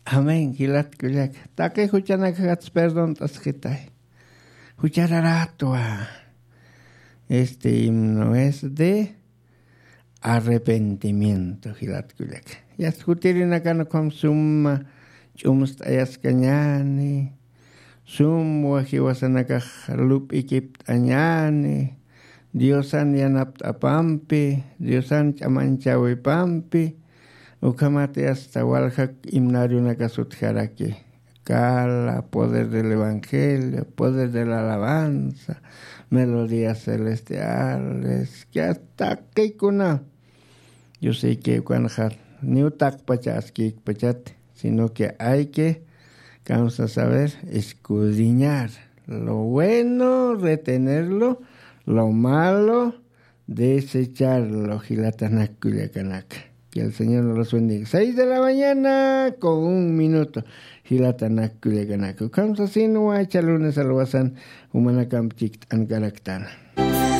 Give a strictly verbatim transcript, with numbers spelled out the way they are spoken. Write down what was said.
Amén jilat kullaka. Taqi juchanakajats perdont'askitay. Juchararatwa. Este himno es de arrepentimiento jilat kullaka. Yasta jutirinakan ukham suma ch'umst'ayaskañani, sumwa jiwasanakax lup'ikipt'añani, diosan yanapt'apampi, diosan ch'amanchawipampi. Ukhamati asta waljak himnarionakasutjaraki. Cala poder del evangelio, poder de la alabanza, melodías celestiales, que hasta qikuna. Yo sé que ukanxa niw taqpacha askikpachat, sino que hay que, vamos a saber, escudriñar lo bueno, retenerlo, lo malo, desecharlo jilatanak kullakanaka. Que el Señor nos los bendiga. Seis de la mañana con un minuto. Jilatanak kullakanaka, ukham sasinwa icha lunes alwasan jumanakamp chikt'ankaraktan.